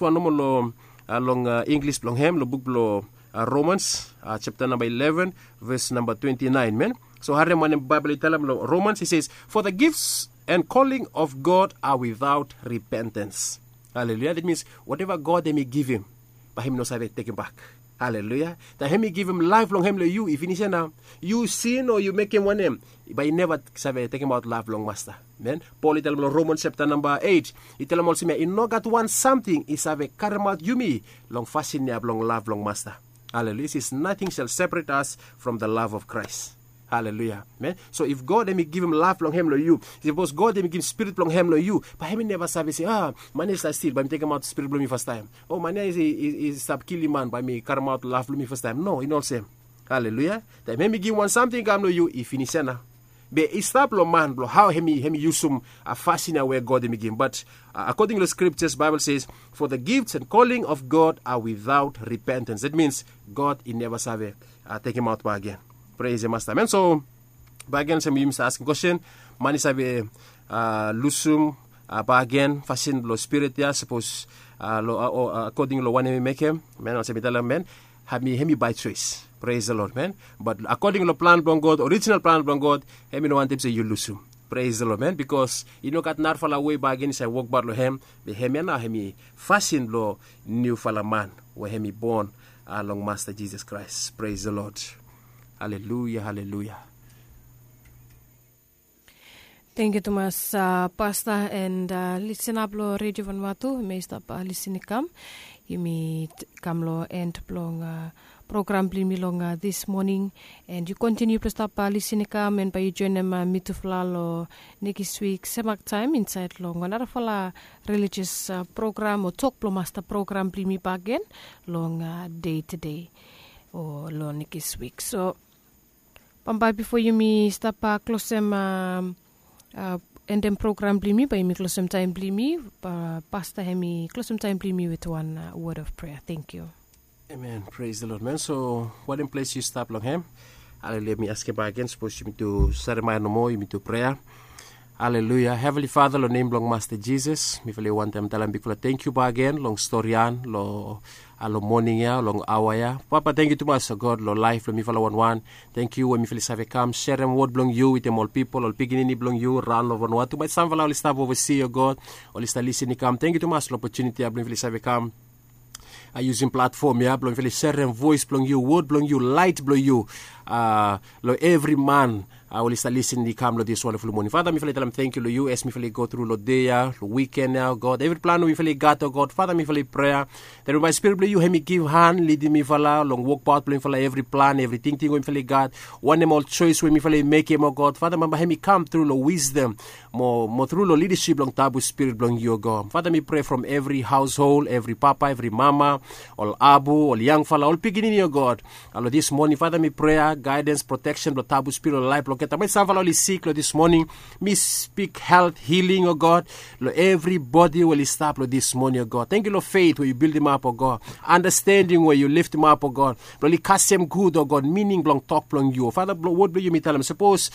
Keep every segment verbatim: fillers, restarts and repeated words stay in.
wan nomo long, long inglis blong hem long buk blong romans, japta namba eleven, ves namba twenti naen men. So harem wanem baibel i talem long romans, i ses, for the gifts and calling of god are without repentance. Haleluya. That means wateva god hem i givim, bae hem i no save tekim bak. Haleluya. Taem hem i givim laef blong hem long yu i finis ya nao, yu sin o yu mekem wanem, bae i neva save tekimaot laef blong masta. Men, pol i talem long romans japta namba eit, i talem olsem ya, i no gat wan samting i save karemaot yumi long fasin ya blong lav blong masta. Haleluya. Sis, nating sel separet as from the lav of kraes. Haleluya. Men, so if god hem i givim lav blong hem long yu, sapos god hem i givim spirit blong hem long yu, bae hem i neva save se, a, man ya i stap stil, bae mi tekimaot spirit blong mi fastaem. O man ya i stap kilim man, bae mi karemaot lav blong mi fastaem. No, i no olsem. Haleluya. Taem hem i givim wan samting i kam long yu, i finis ya nao. Be i stap long man blong hao hem i yusum fasin ya we god hem i givim. Bat akoding long skriptas baibel ses, for the gifts and calling of god are without repentance. That means god i neva save tekimaot bak gen. Pres ya masta men. So bak gen olsem yumi stap askim kwesten, man i save lusum bak gen fasin blong spirit ya sapos akoding long wanem i mekem, men olsem i talem men, hem i bae soes. Pres the lord men. Bat akoding long plan blong god, orijinal plan blong god, hem i no wantem se yu lusum. Pres the lord men, bikos i no gat narafala wei bak gen i save wokbaot long hem. Be hem ya nao hem i fasin blong niufala man we hem i bon long masta jisas kraes. Pres the lord. Haleluya, haleluya. Tengkiu tumas pasta and lisinap long redio vanvatu, yumi stap lisin i kam. Yumi kam long end blong program blong yumi long dis moning. And yu kontiniu blong stap lisin i kam and bae yu joinim mitufala long nekis wik semak taem insaed long narafala relijias program o tok blong masta program blong yumi bakegen long dei tedei o long nekis wik. So bambae bifo yumi stap klosem endem program blong yumi, bae yumi klosem taem blong yumi. Pasta hem i klosem taem blong yumi wit wan wod of prea. Tengkiu. Amen. Pres the lord men. So wanem ples yu stap long hem? Haleluya. Mi askem bakegen sapos yumi tu saremae nomo, yumi tu prea. Haleluya. Heavenly father, long nem blong masta jisas mifala i wantaem talem bigfala tengkiu bakegen long storian long moning ya, long aoa ya. Papa, tengkiu tumas o god long laef blong mifala wanwan. Tengkiu we mifala i save kam serem wod blong yu witem ol pipol, ol pikinini blong yu raon long vanua tu bae samfala oli stap ovasi o god, oli stap lisin i kam. Tengkiu tumas long opotuniti ya blong mifala i save kam yusim platfom ya blong mifala i serem voes blong yu, wod blong yu, laet blong yu long evri man oli stap lisin i kam long dis wandaful moning. Fata mifala i talem tengkiu long yu as mifala i go tru long dei ya, long wiken ya o god, evri plan we mifala i gat o god, fata mifala i prea, that we bae spirit blong yu hem i givhan lidim mifala long wokbaot blong mifala, evri plan, evri tingting we mifala i gat, wanem ol soes we mifala i mekem o god, fata bambae hem i kam tru long wisdom mo tru long lidasip blong tabu spirit blong yu o god. Fata mi prea from evri haoshol, evri papa, evri mama, ol abu, ol yangfala, ol pikinini o god. Long dis moning fata mi prea gaedens, proteksen blong tabu spirit long laef blong olgeta man i save long oli sik long dis moning. Mi spik helt hiling o god long evribodi we oli stap long dis moning o god. Tengkiu long fet we yu bildimap o god, andastending we yu liftimap o god, blong oli kasem gud o god mining blong tok blong yu. Fata blong wod blong yu mi talem sapos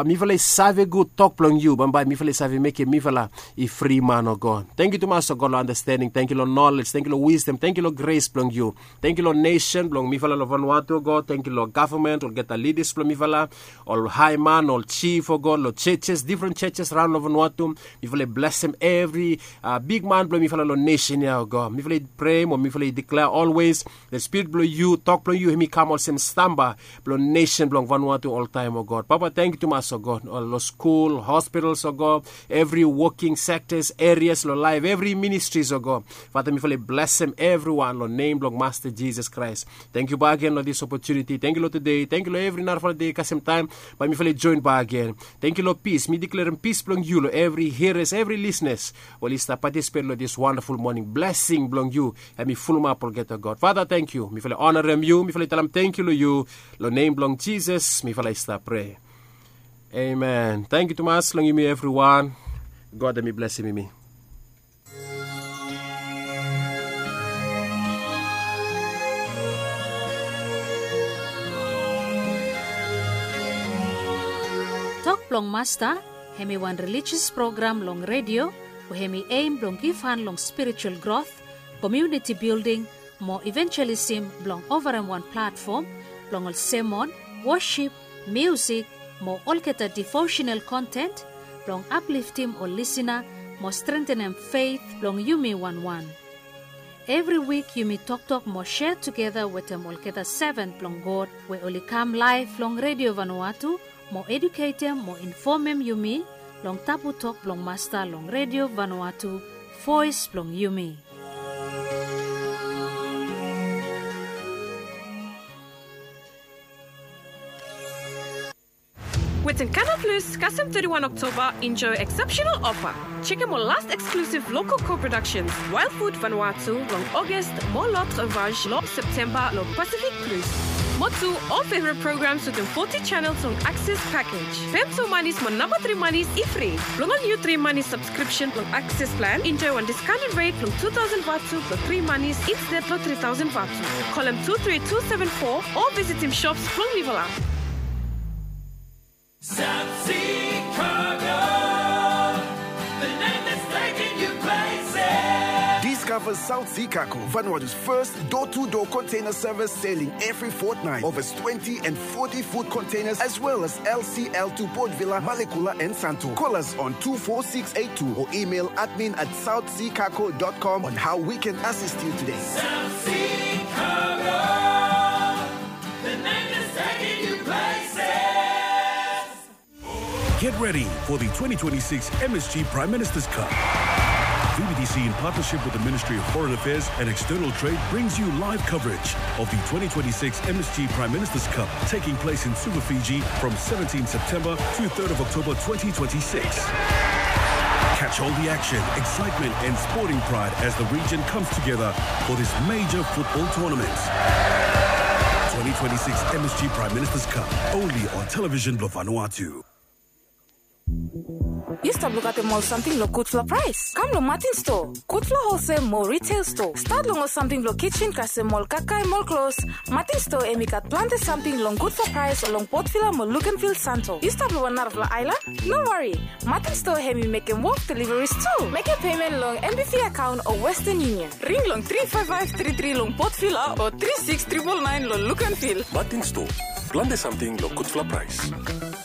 mifala i save gud tok blong yu bambae mifala i save mekem mifala i fri man o god. Tengkiu tumas o god long andastending, tengkiu long nolej, tengkiu long wisdom, tengkiu long gres blong yu. Tengkiu long nesen blong mifala long vanua tu o god, tengkiu long gavman, olgeta lidas blong mifala, ol haeman, ol jif o god, long jejes, difren jejes raon long vanua tu. Mifala i blesem evri bigman blong mifala long nesen ya o god. Mifala i prea mo mifala i diklea olwes, the spirit blong yu, tok blong yu hem i kam olsem stamba blong nesen blong vanua tu oltaem o god. Papa tengkiu tumas o god, long skul, hospitals o god, evri woking sektas, erias long laef, evri ministris o god. Fata mifala i blesem evriwan long nem blong masta jisas kraes. Tengkiu bakegen long dis opotuniti, tengkiu long tudei, tengkiu long evri narafala dei kasem taem bae mifala i joen bakegen. Tengkiu long pis, mi diklerem pis blong yu long evri hiras, evri lisnas we oli stap patisipet long dis wandaful moning. Blesing blong yu hem i fulumap olgeta god. Fata tengkiu, mifala i onarem yu, mifala i talem tengkiu long yu. Long nem blong jisas mifala i stap prea. Amen. Tengkiu tumas long yumi evriwan. God hem i blesem yumi. Tok blong masta hem i wan relijias program long redio we hem i em blong givhan long spiritual grot komuniti bilding mo ivanjelism blong ovarem wan platfom blong ol semon, wosip, miusik mo olgeta devosenal konten blong apliftim ol lisina mo strengtenem feit blong yumi wanwan. Evri wik yumi toktok mo sea tugeta wetem olgeta seven blong God we oli kam laev long Redio Vanuatu mo eduketem mo infomem yumi long tabu tok blong Masta long Redio Vanuatu, voes blong yumi. Wetem Kanal Plus, kasem teti wan Oktoba, enjoy exceptional offer. Jekem ol last exclusive local co-productions, Wild Food Vanuatu long August mo L'Autre Vache long September long Pacific Plus. Mo tu, ol favorite programs wetem forty channels long Access package. Pem tu manis mo namba tri manis i fri. Blong ol niu tri manis subscription blong Access plan, enjoy wan discounted rate blong two thousand vatu blong tri manis instead long three thousand vatu. Kolem two three two seven four o visitim shops blong Livela. South Sea Cargo, the name that's taking you places. Discover South Sea Cargo, Vanuatu's first door-to-door container service, sailing every fortnight. Over twenty and forty foot containers, as well as L C L to Port Vila, Malekula, and Santo. Call us on two four six eight two or email admin at south sea cargo dot com on how we can assist you today. South Sea Cargo, the name that's taking you places. Get ready for the twenty twenty-six M S G Prime Minister's Cup. V B T C, in partnership with the Ministry of Foreign Affairs and External Trade, brings you live coverage of the twenty twenty-six M S G Prime Minister's Cup, taking place in Suva, Fiji, from seventeenth September to third of October twenty twenty-six. Catch all the action, excitement, and sporting pride as the region comes together for this major football tournament. Twenty twenty-six M S G Prime Minister's Cup, only on Television Blue Vanuatu. Yu stap lukaotem ol samting long gudfala praes? Kam long Martin Store, gudfala holsel mo retail store. Stat long ol samting blong kitchen kasem ol kakae mo ol klos. Martin Store hemi gat plante samting long gudfala praes long Port Vila mo Luganville, Santo. Yu stap long wan narafala aelan? No wari. Martin Store hemi mekem wok deliveries tu. Mekem pemen long M B V akaon o Western Union. Ring long tri faef faef tri tri long Port Vila o tri siks tripol naen long Luganville. Martin Store, plante samting long gudfala praes.